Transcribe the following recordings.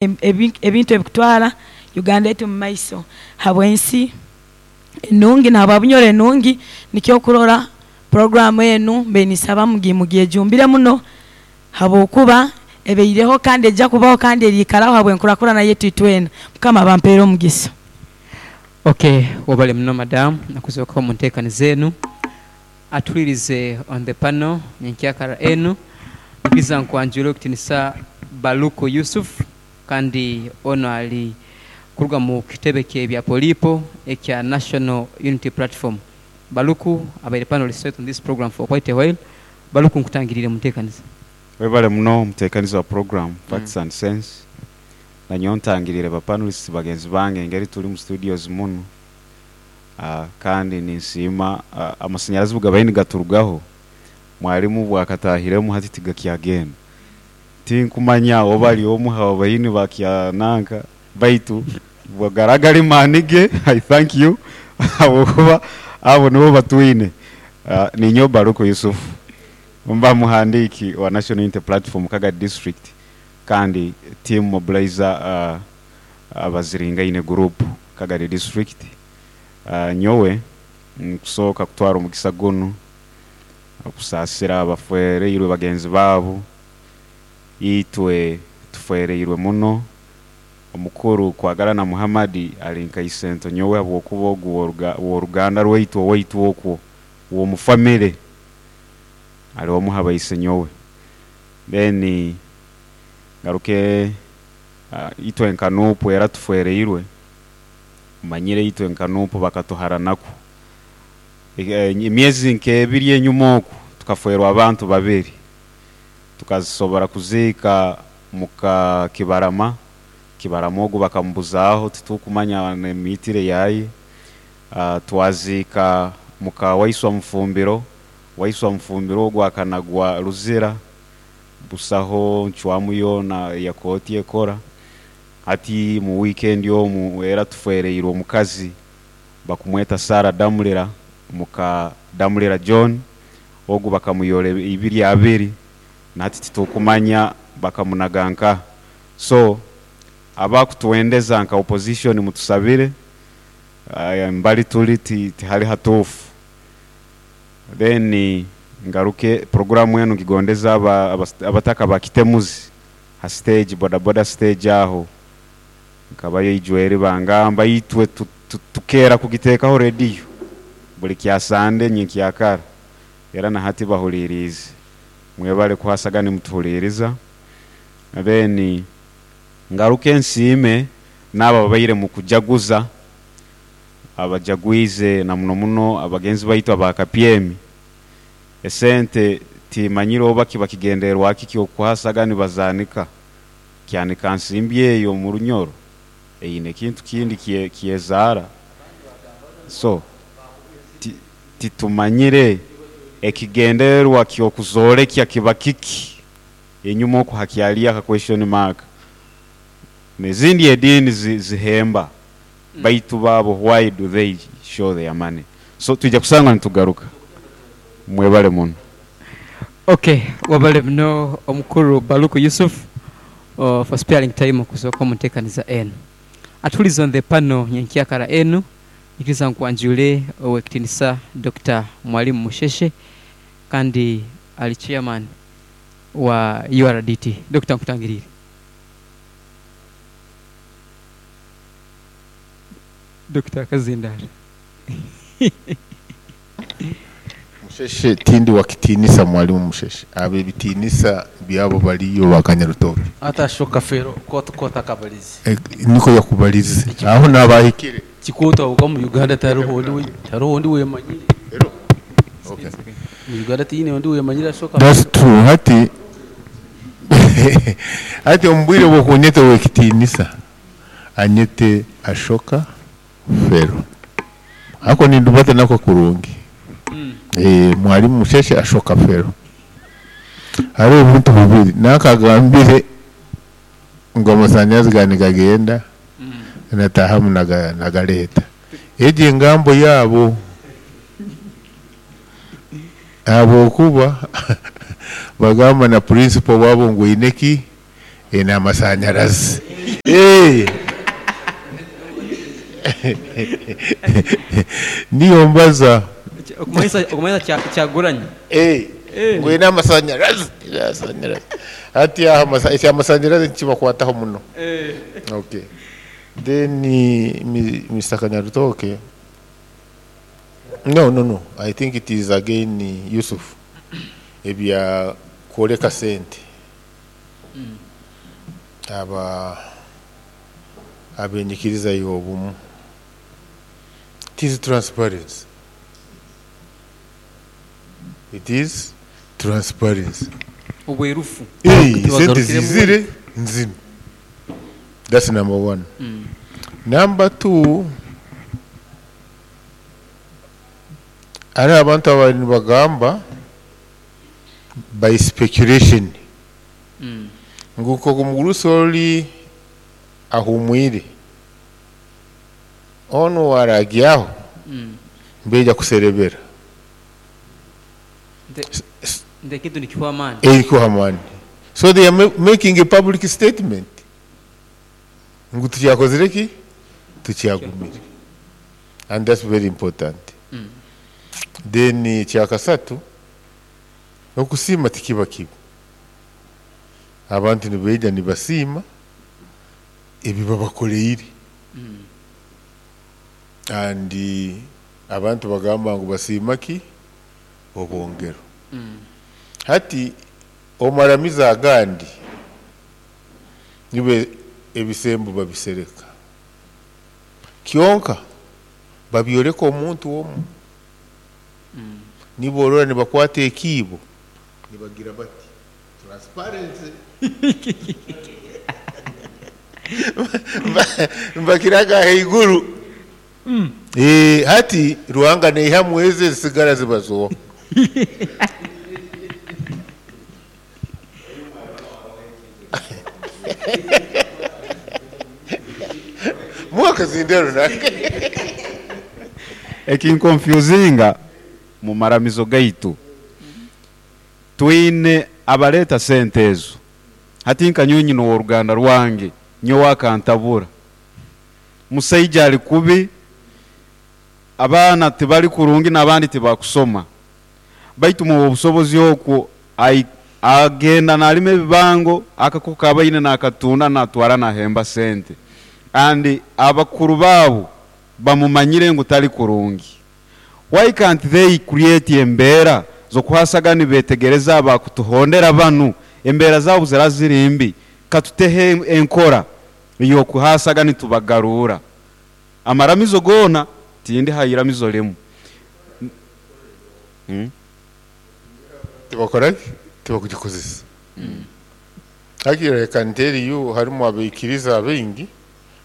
Ebintu ebikutwara Uganda yaitu mu maiso habw'ensi enungi na habwa Bunyoro enungi. Nikyo kurora programu enu mbe nisaba mugyejumbire muno, habwokuba ebeireho kandi ejja kubaho kandi eriikaraho habw'enkurakurana yaitu itwena. Mukama abampeere omugisa. Ok, webale muno madam okuzooka omu nteekaniza enu. Atuhulirize on the panel nyenkyakara enu, nyikiriza nkwanjwire ow'ekitinisa Baluku Yusuf kandi onu ali kuruga mu kitebe ky'ebya polipo ekya National Unity Platform. Baluku abaire panelist waitu on this program for quite a while. Baluku nkutangiriire mu nteekaniza. Webale muno omuteekaniza wa puroguramu Facts and Sense. Nanyowe ntangiriire ba panelists bagenzi bange engeri turi mu studios munu kandi ninsiima amasanyarazi bwegabaire nigaturugaho, mwalimu bwakatahiremu hati tigakyagenda. Tinkumanya oba ari omu ha baine bakya nanka baitu bwegara gari maani ge, I thank you ahabwokuba abo nibo batwine. Ninyowe Baruku Yusuf mba muhandiiki wa National Unity Platform Kagadi District kandi team mobilizer Abaziringaine group Kagadi District. Nyowe nkusooka kutwara omugisa gunu okusaasira abafwereirwe bagenzi baabo. Itwe tufwereirwe muno. Omukuru Kwagalana Muhammad ali nka isento nyowe habwokuba ogu w'oruganda rwaitu owaitu okwo w'omu famire ali omu ha baise nyowe. Then ngaruke itwe nka Nup era tufwereirwe, omanyire itwe nka Nup bakatuharanaku. Emyezi nk'ebiri enyuma oku tukafwerwa abantu babiri, tukasobora kuziika muka Kibarama, Kibarama ogu bakamubuzaaho titukumanya n'emiitire yaye. Twaziika muka Waiswa Mufumbiro, Waiswa Mufumbiro ogu akanagwa Luzira, busaho ncwamu yoona eya kooti ekora. Hati mu wiikendi omu era tufwereirwe omukazi bakumweta Sarah Damulira muka Damulira John, ogu bakamuyora ibiri abiri na hati titukumanya bakamunaga nkaha. So abakutwendeza nka opposition mutusabire, mbali turi tihali hatuufu. Then ngaruke puroguramu enu ngigondeze abataka ba Kitemuzi ha stage, bodaboda stage aho nkabayo ijweri bangamba itwe tukeera kugiteekaho rediyo buli kya Sande nyenkyakara era na hati bahuliiriize. Mwebale kuhasaga nimutuhuliiriza. Then ngaruke nsiime n'abo ababaire mukujaguza, abajagwize na muno muno abagenzi baitu aba Kapyemi. Esente timanyire oba kiba kigendererwa ki ky'okuhasaga nibazaanika. Kyanika nsimbi eyo omu Runyoro eine ekintu kindi kyezaara. So titumanyire ekigendererwa ky'okuzoorekya kiba kiki enyuma oku hakyaliyo aka question mark. N'ezindi ediini zihemba baitu bo why do they show their money? So twija kusanga nitugaruka. Mwebale muno. Ok, webale muno omukulu Baluku Yusuf for sparing time okuzooka omu nteekaniza enu. Atuhulize on the panel nyenkyakara enu, nyikiriza nkwanjule Owekitinisa Dokita Mwalimu Musheshe kandi ali chairman wa URDT. Dokita nkutangiriire. Dokita Kazindala. Musheshe tindi wa kitiinisa Mwalimu Musheshe, abo ebitiinisa byabo baliyo ba Kanyarutoki. Ate Ashoka Fero kotakabalize. Niko yakubalize aho naaba ahikire. Kikooto aho mu Uganda tihariho ondi wemanyire. Okay. Mu Uganda tihaine ondi wemanyire Ashoka That's Fero. true. Hati hati omu bwire bw'okunyeta ow'ekitiinisa anyete Ashoka Fero. Ako nindubata nako kurungi. Mwalimu Musheshe Ashoka Fero. Hariho ebintu bibiri nakagambire ngu amasanyarazi gaba nigagenda natahamu nagaleeta. Egyo engambo yaabo ahabwokuba bagamba na principal waabo ngu eine ki? Eine amasanyarazi. Eh. Niyo mbaza. Okumanyisa Kyagulanyi. Eh. Eh. Ngwina amasanyarazi, amasanyarazi. Hati aho ekyamasanyarazi nikibakwataho muno. Eh. Okay. Then Mr. Kanyarutoke. No, no, no. I think it is again Yusuf. Ebya kwoleka sente. Aba abenyikiriza y'obumu. It is transparency. It is transparency. Obwerufu. Hey, sente Tibagarukiremu. zizire nzino. That's number one. Number two, hari abantu abari nibagamba by speculation nguko omugurusi oli ahumwire onu waragyaho mbeja kuserebera. Nde kintu nikiwa amaani. Erikuhamani. So they are making a public statement ngu tukyakozire ki, tukyagumire, and that's very important. Then ekyakasatu, okusiima tikiba kibi. Abantu nibeija nibasiima ebi babakoleire, and abantu bagamba ngu basiima ki obwongero. Hati omaramiza agandi nibe ebisembo babisereka, kyonka babyoleka omuntu omu. Niborora nibakwata ekiibo nibagira bati transparency, mbakiraga haiguru. Hati Ruhanga neihamu eze zisigara zibazoha. Mwaka zindero nake. Ekinkonfusinga mu maramizo gaitu, twine abaleta sente ezo. Hati nka nyonyi n'oruganda rwange nyowe akantabura, musaija ali kubi, abaana tibali kurungi n'abandi tibakusoma, baitu mu obusobozi okwo agenda nalima ebibango akako kabaine nakatunda natwara nahemba sente, and abakuru baabo bamumanyire ngu tali kurungi. Why can't they create embeera zokuhasaga nibetegereza abakutuhondera banu embeera zaabo zira ziri mbi, katutehe enkora yokuhasaga nitubagarura amaramizo gona tindi hayiramizo limu. Tibakora tibakugikozesa. Hakiri I can tell you harimu abaikiriza abaingi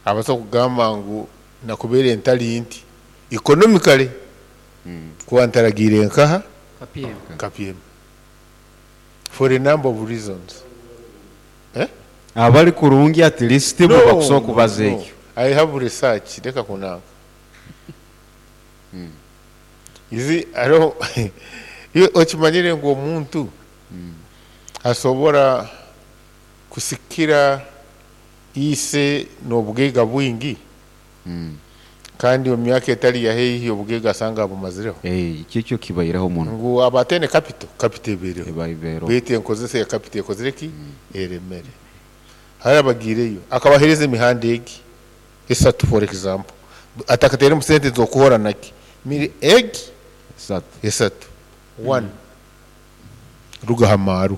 abaso kugamba ngu nakubere entali nti economically kuba ntaragire nkaha KPM. KPM for a number of reasons. Abali kurungi at least bo bakusobola kubaza No. ekyo. I have research leka kunanga. Izi aro iyo okimanyire ngu omuntu asobora kusikira ise n'obugaiga bwingi, kandi omu myaka etali ya haihi obugaiga asanga bumazireho. Ekyo kyo kibaireho muno. Ngu abatene capital, capital ebeereho. Ebaibeereho. Baitu enkozesa ya capital ekozire ki? Eremere. Hari abagiireyo akabahereza emihanda egi esatu, for example, atakateeremu sente z'okuhora naki miri egi esatu. Esatu. One, ruga hamaru.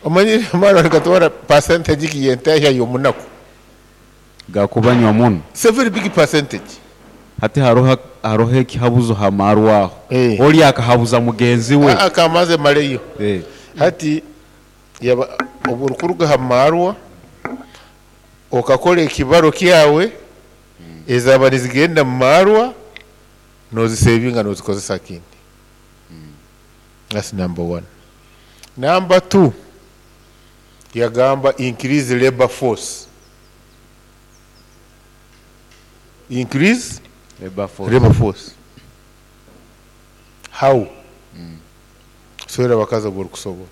Omanyire amaru akatwara percentage ki yentahya y'omunaku gakubanywa muno. It's a very big percentage. Hati haroho ekihabuzo hamaru aho. Oli akahabuza mugenzi we. Akamaze maleyo. Hati yaba oburukuruga hamarwa okakora ekibaro kyawe, ezaba nizigenda mu marwa nozisevinga nozikozesa kindi. That's number one. Number two, yagamba increase labor force. Increase labor force. Labor force. How? Swera bakaza buri kusobola.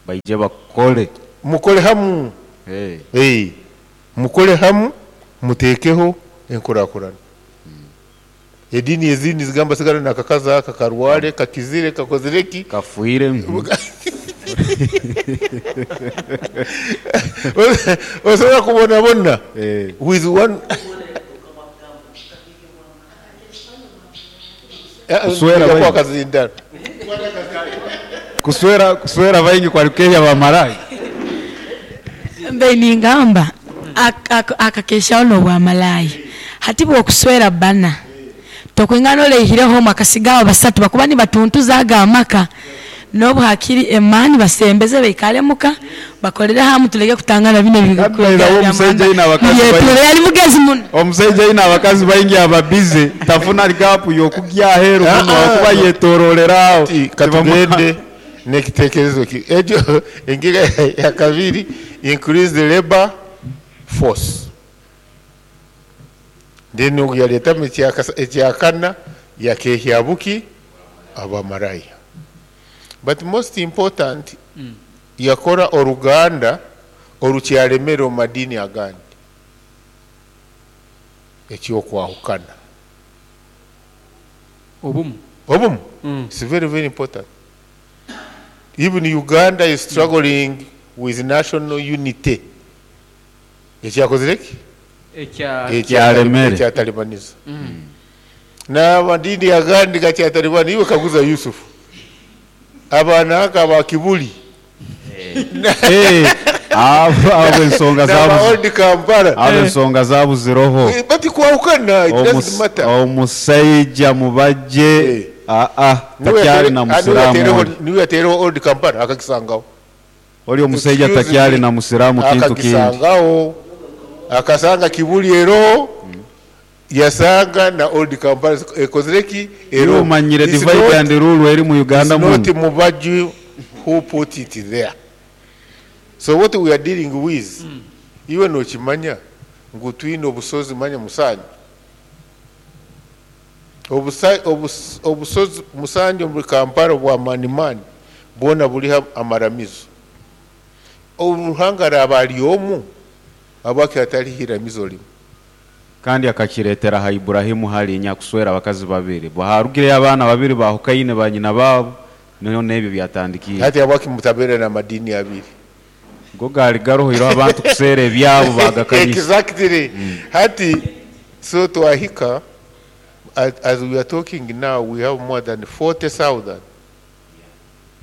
Baije bakole. Mukole hamu. Hey. Mukole hamu, mutekeho enkurakurana. Edini ezindi zigamba sigara nakakazi aka karware, kakizire, kakozire ki? Kafuire. Osobola kubonabona with one. Kuswera baingi. Akazindaro. Kuswera baingi kwali kukehya bamalayi. Mbe ningamba akakeshaho n'obwamalayi. Hati bw'okuswera bana tokwingana oleihireho akasigaho basatu bakuba nibatuntuza aga amaka n'obu hakiri emani basembeze baikale muka bakolere hamu tuleke kutangana bino Kabla uwo omusajja ayina abakazi baingi. Yali mugezi muno. Omusajja ayina abakazi baingi ababize tafuna gapu yokugya aheru muno akuba yetororeraho. Katugende n'ekitekerezo ki ekyo engiga ya kabiri, increase the labor force. Then yaletamu ekyakana yakehya buki abamaraya. But most important, yakora oruganda orukyalemera omu madini agandi ekyokwahukana. Obumu. Obumu. It's very, very important. Even Uganda is struggling with national unity. Ekyakozire ki? Ekyalemere. Ekyatalibaniza. N'amadini agandi gakyatalibani. Iwe kaguza Yusufu. Abaana aka ba Kibuli. Abo ensonga N'aba zabu. Old Kampala. Abo ensonga zabu ziroho. Bati kwahukana, it doesn't matter. Omusajja mubajje. Takyali na musiramu oli. Niwe yateereho Old Kampala akakisangaho. Oli omusajja Excuse takyali me. na musiramu kintu kindi. Akakisangaho. Akasanga Kibuli ero. Yasanga na Old Kampala ekozire ki? Ero. Iwe omanyire It's divide not and rule eri mu Uganda It's not muno. Mubajju who put it there. So what we are dealing with, iwe nokimanya ngu twine obusozi manya musanju. Obusozi musanju muri Kampala bwa manimani bwona buriho amaramizo. Oruhanga raba ari omu abaki atari hiramizo rimwe. Kandi akakiretera ha Ibrahimu hali nyakuswera abakazi babiri. Baharugire abana babiri bahukaine ba nyina babo, niho n'ebyo byatandikiye. Hati abaki mutabere na madini abiri. Go gari garohiro abantu kusera ebyabo bagakanyisa. Exactly. Hati so twahika as we are talking now, we have more than 40,000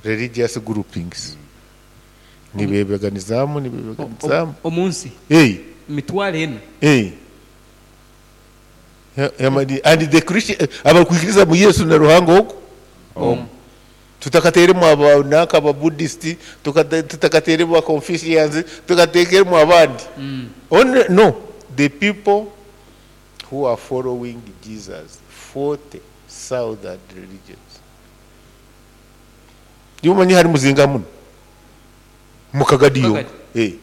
religious groupings. Nibebeganizamu, nibebeganizamu. Omunsi. Hey. Mitwalo ena. Hey. And the Christian abakwikiriza mu Yesu na Ruhanga oko. Tutakateremu abanaka aba Buddhist, tutakateremu aba Confucians, tukatekeremu abandi. Only, no, the people who are following Jesus, 40,000 religions. Yumanyi hari muzinga muno. Mukagadiyo. Mukagadi.